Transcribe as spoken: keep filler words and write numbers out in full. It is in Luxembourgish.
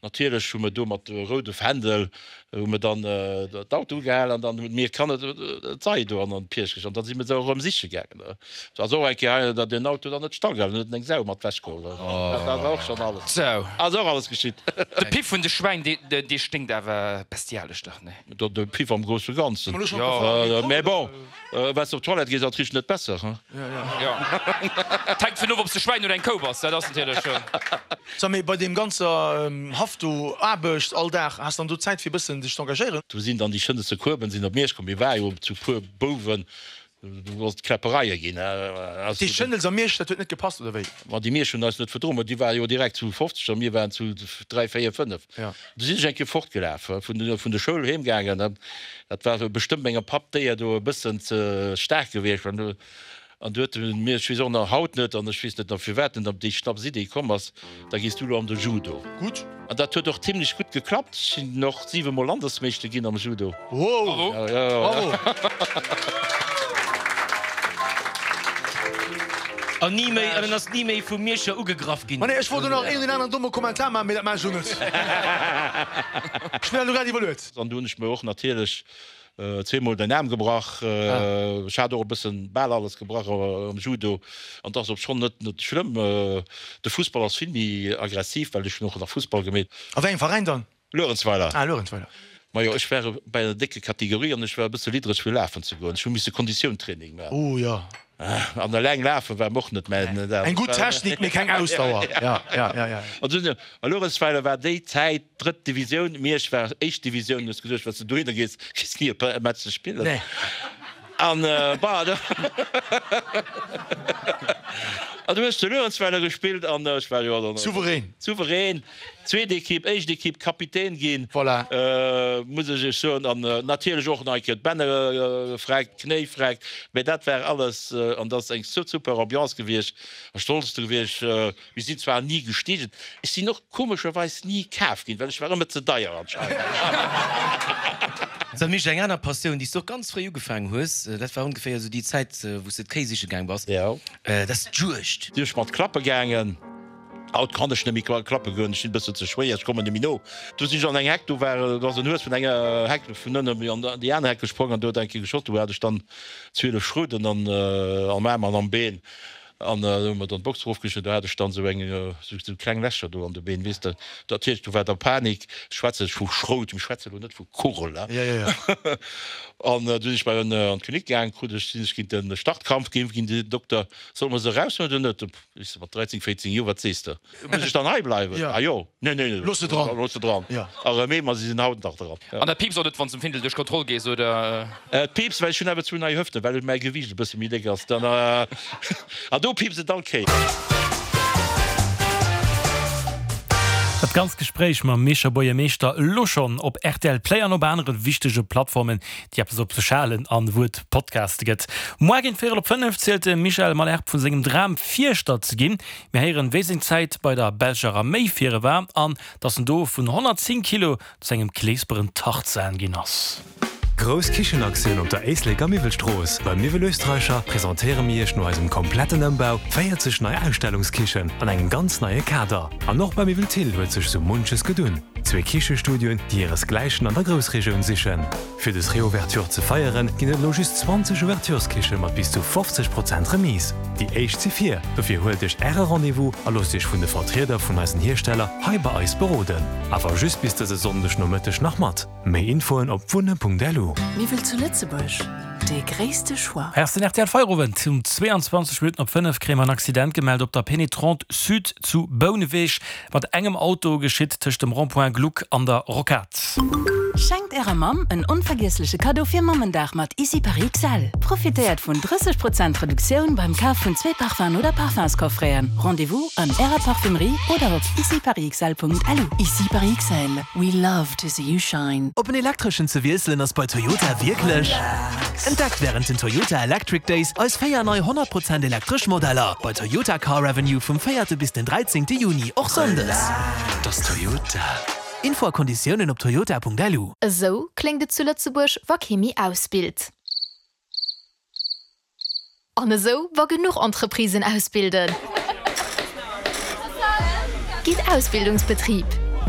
Natierlech hu mer do mat roude Fändel hu mer dann d'Auto ugehal an dann hunn mir Kanner d'Sei do an d'Pierch an da si mer se och erëm siche gaangen. Et ass och eng Kéier hei, datt een Auto dann net stall gehalen huet, huet en eng Sau mat wech geholl. Dat ass och schonn alles, ass och alles geschitt. De Piff vun de Schwäin, dee sténkt awer bestialesch dach, nee? De Piff am grousse Ganzen, jo. Mä bon, wann s de op d'Toilette gees, ass et richt net besser, he? Jo, et hänkt vun of, ob s de Schwäin oder eng Kou bass, dat ass natierlech. Sag, mee bei deem ganzer Haff do, Aarbecht all Dag, has dann do Zäit fir e bëssen dech z'engagéieren? Do sinn dann déi schënneste Kueben sinn op Miersch komm. Mir ware jo zu puer Bouwen, do ass et Kläppereie ginn. Déi Schënnels a Miersch, dat huet net gepasst, oder wéi? Ma déi Miersch hunn eis net verdroen, ma déi ware jo direkt zu fofzeg a mir waren zu dräi, véier, fënnef. Du sinn ech eng Kéier fortgelaf, vun vun der Schoul heem gaangen. Dat war bestëmmt mengem Papp d'Éier do e bëssen ze staark gewiescht. An du huet e mir, ech weess och nach haut net, an ech weess net nach firwat en op déi Schnapsidee komm ass, da gees du elo an de Judo. Gutt. An dat huet och zimlech gutt geklappt. Ech sinn och siwe Mol Landesmeeschter ginn am Judo. Wow! Bravo! An ni méi, an en ass ni méi vu Mierscher ugegraff ginn. Ma nee, ech wollt elo nach een oder aneren domme Kommentar maachen, mee dat maachen ech elo net. Ech hunn dat elo grad iwwerluet. An du hunn ech mir och natierlech Zweemol den Aarm gebrach. Ech hat och e bëssen bal alles gebrach am Judo an et ass och schonn net net schlëmm. De Fussball ass vill méi aggressiv, well ech hunn och nach Fussball gemeet. A wéi engem Veräin dann? Luerenzweiler. Ah, Luerenzweiler. Majo, ech war bei der décke Kategorie an ech war e bësse liddreg fir lafen ze goen. Ech hu misse Konditiountraining maachen. Oh jo. An eleng lafe war mer och net mäin. Eng gutt Technik, mee keng Ausdauer. Ja, ja, ja, ja. A Luerenzweiler war déi Zäit drëtt Divisioun, Miersch war éischt Divisioun. Du hues geduecht, wann s de dohinner gees, kriss ni e Match ze spillen. Nee. An bah, an du hues zu Luerenzweiler gespillt an ech war jo dann. Souverän. Souverän. Zweet Ekipp, éischt Ekipp, Kapitän ginn. Voilà. Muss ech iech soen. An natierlech och nach eng Kéier d'Bänner gefreckt, d'Knéi freckt. Mä dat war alles, an dat ass eng super Ambiance gewiescht a stolz dru gewiescht. Mir sinn zwar ni gestigen, ech sinn och komescherweis ni kaf ginn, well ech war ëmmer ze deier anscheinend. Sag Misch, eng aner Passioun, déi s du och ganz fréi ugefaangen hues, dat war ongeféier esou déi Zäit, wou s de d'Kéi siche gaang bass, dat ass d'Juegd. Sinn ech mat klappe gaangen. Haut kann ech net méi klappe goen, ech sinn e bëssen ze schwéier, ech kommen net méi no. Du sinn ech an eng Heck, do war, do ass en Hues vun enger Heck vun ënnen an déi aner Heck gesprong an do huet eng Kéier geschoss. Do hat ech dann zwielef Schrouten an am Aarm an am Been an do hu mer dann d'Box erofgeschnidden. Do hat ech dann esou eng, esou kleng Lächer do an de Been, weess de. Natierlech, do war da Panik. Ech schwätze vu Schrout, mir schwätze lo net vu Kugel, he. An du sinn ech bei en an d'Klinik gaang, krut ech, sinn ech géint de Startkrampf geimpft ginn. Den Dokter, Solle mer se eraushuelen oder net? Ech so, mat dräizéng, véizéng Joer, wat sees de? Muss ech dann hei bleiwen? Ja. Ah jo, nee, nee, nee, Looss se dran. Looss se dran. Ja. A rëm ee, ma si sinn haut nach dran. An dat piipst och net, wann s de um Findel duerch d'Kontroll gees, oder? Et piipst, well ech hunn awer zwou nei Hëften, well mäi Gewiicht e bësse méi déck ass. Dann, an do piipst et all Kéier. Dat ganzt Gespréich mam Mierscher Buergermeeschter elo schonn op rtl Play an op anere wichtege Plattformen, déi eppes op sech halen an wou et Podcaste gëtt. Moar géint véierel op fënnef zielt de Michel Malherbe vu sengem Dram, Fierschter ze ginn. Mir héieren, wéi seng Zäit bei der belscher Arméi fir e war an datt en do vun honnertzéng Kilo zu engem kleesperen Tarzan ginn ass. Grouss Kichenaktioun op der Éisleker Miwwelstrooss! Beim Miwwel Österreicher presentéiere mir Iech no eisem kompletten Ëmbau véierzeg nei Ausstellungskichen an engem ganz neie Kader. An och beim Miwwel Thill huet sech sou munches gedunn. Zwee Kichestudioen, déi hiresgläichen an der Groussregioun sichen. Fir des Reouverture ze feieren, ginn et elo just zwanzeg Ouvertureskiche mat bis zu fofzeg Prozent Remise. Déi éischt si vir, dofir huelt Iech Äre Rendez-vous a loosst Iech vun de Vertrieder vun eisen Hiersteller hei bei eis beroden. Awer just bis dëse Sonndeg Nomëtteg nach mat. Méi Infoen op wunne.lu. Miwwel zu Lëtzebuerg, dee gréisste Choix. Hei ass den rtl Feierowend. Um zwee an zwanzeg Minutten op fënnef kréie mer en Accident gemellt op der Pénétrante Sud zu Bouneweg. Mat engem Auto geschitt tëscht dem Rond-point Gluck an der Rocade. Schenkt ärer Mamm en onvergiessleche Kaddo fir Mammendag mat Ici Paris X L. Profitéiert vun drësseg Prozent Reduktioun beim Kaf vun zwee Parfum'en oder Parfumscoffreten. Rendez-vous an ärer Parfumerie oder op iciparisxl Punkt L U. Ici Paris X L, we love to see you shine. Op en elektreschen ze wiesselen ass bei Toyota wierklech. Entdeckt wärend den Toyota Electric Days eis véier nei honnert Prozent elektresch Modeller bei Toyota Car Avenue vum véierte bis den dräizéngte Juni, och sonndes. Dass Toyota. Info a Konditiounen op toyota Punkt L U. Esou kléngt et zu Lëtzebuerg, wa kee méi ausbilt. An esou, wa genuch Entreprisen ausbilden. Gitt Ausbildungsbetrib.